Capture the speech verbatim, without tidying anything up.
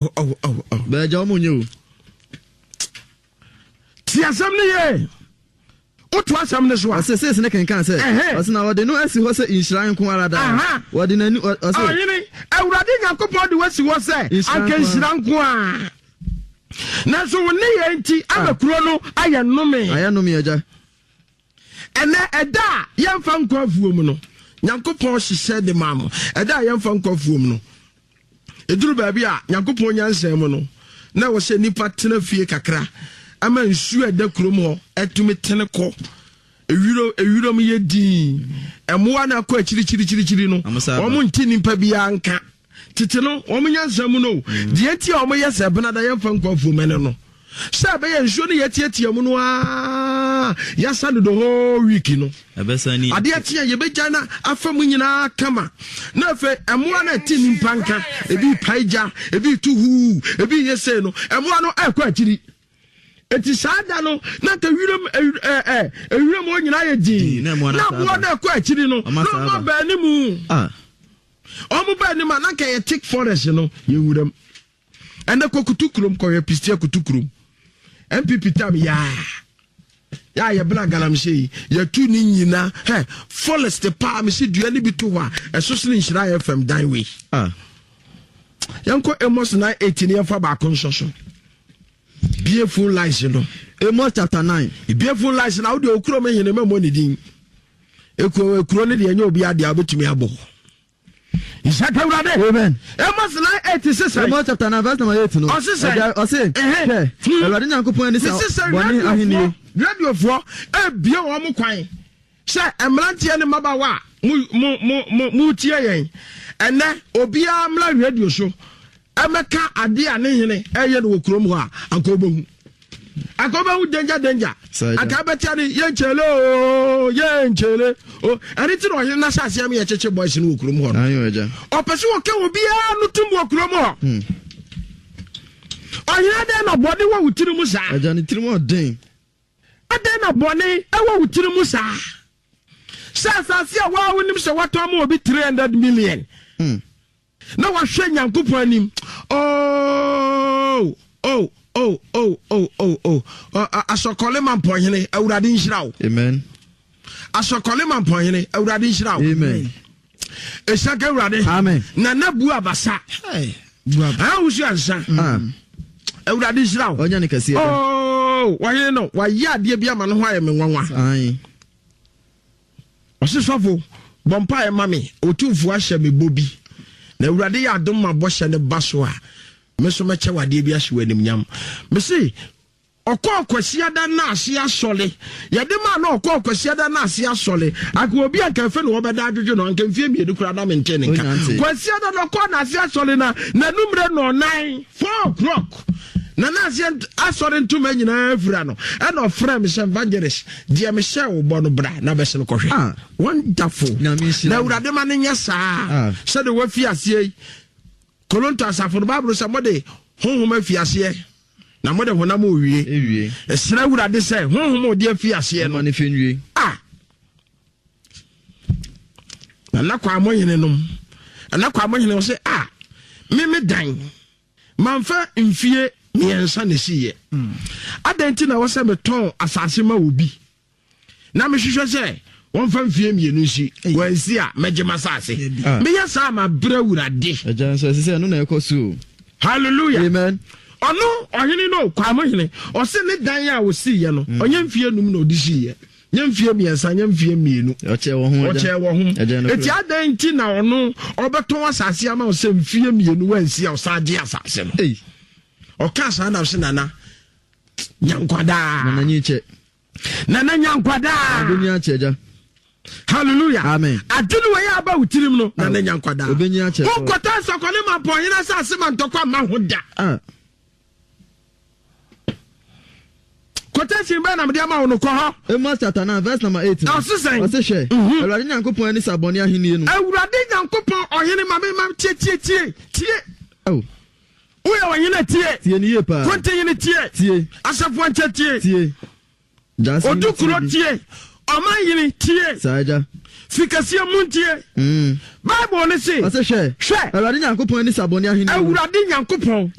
Oh, oh, oh. Bɛɛ gya ɔmo nyɛ o. Ti asɛm no yie. Woto asɛm no so a. Ɔse sees ne kenkan sɛ. Ɔse na wɔde no asi hɔ sɛ nhyira nko ara daa. Wɔde n'ani ɔse. Ɔhene, Awurade Nyankopɔn de wasi hɔ sɛ anka nhyira nko ara. Nanso wo nneyɛe nti ama kuro no ayɛ nnome. Ayɛ nnome, agya. Ɛnɛ ɛda a yɛmfa nkɔ afuom no, Nyankopɔn hyehyɛ de maa mo. Ɛda a yɛmfa nkɔ afuom no, ɛduru baabi a Nyankopɔn nyansa mu no, na ɛwɔ sɛ nnipa tena fie kakra ama nsuo a ɛda kurom hɔ atumi tene kɔ. Ewiro ewirom yɛ dinn. Mmoa no akɔ akyirikyirikyirikyiri no, wɔn nte nnipa biara nka. Tete no, wɔn nyansa mu no, mm. deɛ nti a wɔyɛ sɛ benada yɛmfa nkɔ afuom ɛne no. Sɛ ɛbɛyɛ nsuo no yɛtiatia mu no ara yɛasa no the whole week no. Adeɛ kye a yɛbɛgya no afa mu nyinaa kama. Na afei mmoa no ɛte nnipa nka, ebi pae gya, ebi tu huu, ebi yɛ sei no, mmoa no ɛkɔ akyiri. Eti saa da no na nka wiram ɛ ɛ ewiram hɔ nyinaa yɛ dinn. Na mmoa no ɛkɔ akyiri no, na wɔn aba anim. Wɔn ba anim a na nka yɛ thick forest no yɛ wuram. Ɛnɛ kɔ kutu kurom kɔhwɛ pistia kutu kurom. N P P tam yaa yaa yɛ bena galamsey yi yɛtu ne nyina hɛ forest paa mesi dua ne bi to hɔ a ɛso sene Nhyira F M dan wei. Ah. Yɛnkɔ Amos nine eight ne yɛmfa baako nsɔ so. Bie phone lines no. Amos chapter nine. Bie phone lines na wode okuro me hene mɛmmɔ ne din. Ekuro ekuro ne deɛ ɛnyɛ obi adeɛ a wobɛtumi abɔ. Nhyɛ Awurade. Amen. Amos nine eight sisɛ. Amos chapter nine verse number eight no. Ɔsisɛ. Ɔse. Hwɛ. Awurade Nyankopɔn ani sa bɔne ahenni. Radiofoɔ ebie wɔn kwan sɛ mmeranteɛ ne mmabaawa a mo mo mo mo mo tie yɛn ɛnɛ obiara mmra radio so ɛmɛka adeɛ a ne hene ɛyɛ no wɔ kurom hɔ a anka wobɛhu anka wobɛhu danger danger anka bɛtia ne yɛnkyɛle o yɛnkyɛle o. Ɛne ti na ɔhene n'ahyɛ aseɛ mi yɛkyekye boys no wɔ kurom hɔ no. Ɔpɛ sɛ wɔka obiara no tum wɔ kurom hɔ. Ɔhene, adɛn na bɔne wɔ wo tiri mu saa? Agya, ne tirim ɔden. Adɛn na bɔne ɛwɔ wo tiri mu saa sɛ asase a waa wonim sɛ wɔtɔn ma obi three hundred million Hmm. na wahwɛ Nyankopɔn anim? oh oh oh oh oh oh oh Asɔkɔle ma mpɔhene, Awurade nhyira wo. Amen. Asɔkɔle ma mpɔhene, Awurade nhyira wo. Amen. Ɛhyɛ ka Awurade. Amen. Nana bu abasa ahosuo ansa. Ah. Awurade nhyira wo. Ɔnyɛ ne kɛseɛ da. Oh, wɔhene no wayɛ adeɛ bi ama no ho ayɛ me nwanwa. Aye. Ɔse, "Sɔfo, bɔ mpaeɛ ma me, Ɔtumfoɔ ahyɛ me bɔ bi na Awurade yɛ adom ma bɔhyɛ no ba so a, me nso mɛkyɛ wadeɛ bi ahyɛ wɔ animnyam." Mese ɔkɔɔ Kwasiada no ase asɔle yɛde maa na ɔkɔɔ Kwasiada no ase asɔle anka obi anka afei na wɔbɛda adwodwo no anka mfie mmienu koraa na mente ne nka. Onyante. Kwasiada no ɔkɔɔ n'ase asɔle na n'anummerɛ nɔɔnan, four o'clock, na n'ase asɔre ntoma nyinaa fira no ɛna ɔfrɛ me sɛ, "Evangelist, deɛ mehyɛ wo bɔ no, bra na bɛsene kɔhwɛ." Ah. Wonderful. Nyame nhyira na no. Awurade ma no nyɛ saa Ah. sɛde wafi aseɛ yi. Koronto asafo no, Bible sɛ mode honhom afi aseɛ na mode honam owie. Ewie. Ɛsrɛ Awurade sɛ honhom a ɔde afi aseɛ no Ɔma ne fɛ nwie. A nana kwa mo hene nom, nana kwa mo hene wɔ sɛ a meme dan mamfa mfie mmiɛnsa na esiiɛ, adɛn nti na wɔ sɛ metɔn asase ma obi na mehwehwɛ sɛ wɔmfa mfie mmienu nsi, wɔansi a mɛgye m'asase? Ah. Meyɛ saa ma brɛ Awurade. Agya nso ɛsɛ sɛ ɛno na ɛkɔ so o. Hallelujah. Amen. Ɔno ɔhene no, Kwamo hene, ɔse ne dan a ɔsiiɛ no, ɔnyɛ mfie num na ɔde siiɛ, nyɛ mfie mmiɛnsa, nyɛ mfie mmienu. Ɔkyɛ wɔ ho, agya. Ɔkyɛ wɔ ho. Agya no. Eti adɛn nti na ɔno ɔbɛtɔn asase ama wo sɛ mfie mmienu wansi a ɔsan gye asase no? Ei. Ɔka saa nam sɛ nana nyankwadaa. Nana nyi kyɛ. Nana nyankwadaa. Ɔbɛnyi akyɛ, agya. Hallelujah. Amen. Ade no wɔyɛ aba wo tirim no, nana nyankwadaa. Ɔbɛnyi akyɛ. Wonkɔtɔ nsɔkɔne ma mpɔhene asase ma ntɔkwa ma ho da. Ah. Quotation bɛɛ na mede ama wo no, kɔ hɔ. Amos chapter nine verse number eight no. Ɔse sɛn? Ɔse, hwɛ. Mhm. Awurade Nyankopɔn ani sa bɔne ahenni no. Awurade Nyankopɔn, ɔhene, ma me ma tie, tie, tie, tie. Oh. Woyɛ ɔhene, tie. Tie ne yie paa. Kontihene, tie. Tie. Asafo nkyɛ, tie. Tie. Gyaase Odukuro tie bi. Tie. Ɔman yere, tie. Saa, agya. Fikɛseɛ mu ntie. Mm. Bible ne se, Ɔsɛ hwɛ, hwɛ, Awurade Nyankopɔn ani sa bɔne ahenni mu. Awurade Nyankopɔn.